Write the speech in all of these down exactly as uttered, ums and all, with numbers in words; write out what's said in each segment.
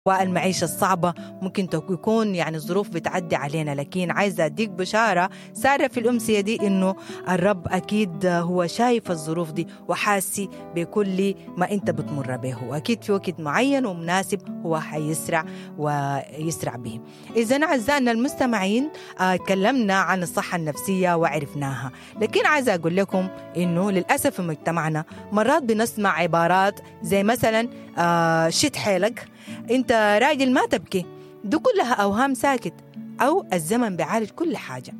والمعيشة الصعبة ممكن يكون يعني الظروف بتعدي علينا، لكن عايزة أديك بشارة سارة في الأمسية دي إنه الرب أكيد هو شايف الظروف دي وحاسي بكل ما أنت بتمر به، وأكيد في وقت معين ومناسب هو حيسرع ويسرع به. إذا أعزائنا المستمعين تكلمنا عن الصحة النفسية وعرفناها، لكن عايزة أقول لكم إنه للأسف في مجتمعنا مرات بنسمع عبارات زي مثلا آه شد حيلك، انت راجل ما تبكي، دي كلها أوهام ساكت، أو الزمن بيعالج كل حاجة.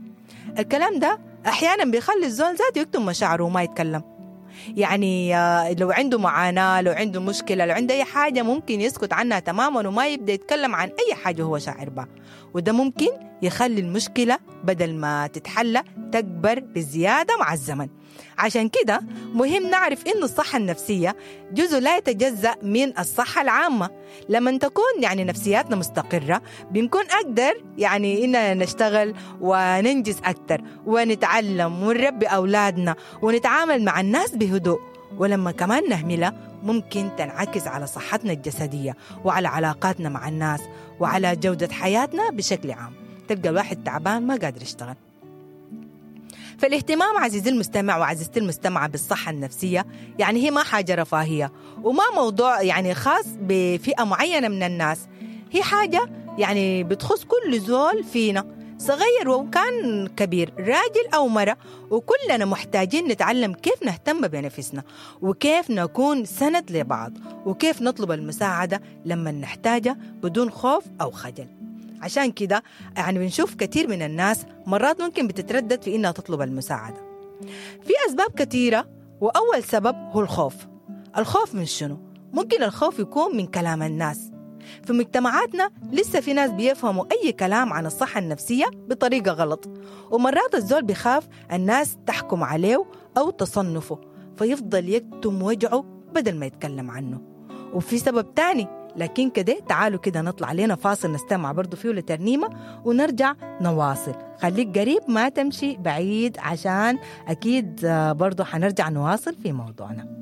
الكلام ده أحيانا بيخلي الزول ذاته يكتم مشاعره وما يتكلم. يعني لو عنده معاناة، لو عنده مشكلة، لو عنده أي حاجة ممكن يسكت عنها تماما وما يبدأ يتكلم عن أي حاجة هو شاعر بها، وده ممكن يخلي المشكلة بدل ما تتحلى تكبر بزيادة مع الزمن. عشان كده مهم نعرف إنه الصحة النفسية جزء لا يتجزأ من الصحة العامة. لما تكون يعني نفسياتنا مستقرة بنكون أقدر يعني إننا نشتغل وننجز أكتر ونتعلم ونربي أولادنا ونتعامل مع الناس بهدوء. ولما كمان نهملها ممكن تنعكس على صحتنا الجسدية وعلى علاقاتنا مع الناس وعلى جودة حياتنا بشكل عام. تلقى الواحد تعبان ما قادر يشتغل. فالاهتمام عزيزي المستمع وعزيزتي المستمعة بالصحة النفسية يعني هي ما حاجة رفاهية وما موضوع يعني خاص بفئة معينة من الناس، هي حاجة يعني بتخص كل زول فينا، صغير وكان كبير، راجل أو مرة، وكلنا محتاجين نتعلم كيف نهتم بنفسنا وكيف نكون سند لبعض وكيف نطلب المساعدة لما نحتاجها بدون خوف أو خجل. عشان كده يعني بنشوف كثير من الناس مرات ممكن بتتردد في إنها تطلب المساعدة. في أسباب كثيرة، وأول سبب هو الخوف. الخوف من شنو؟ ممكن الخوف يكون من كلام الناس. في مجتمعاتنا لسه في ناس بيفهموا أي كلام عن الصحة النفسية بطريقة غلط، ومرات الزول بيخاف الناس تحكم عليه أو تصنفه فيفضل يكتم وجعه بدل ما يتكلم عنه. وفي سبب تاني، لكن كده تعالوا كده نطلع لنا فاصل نستمع برضو فيه لترنيمة ونرجع نواصل. خليك قريب ما تمشي بعيد عشان أكيد برضو حنرجع نواصل في موضوعنا.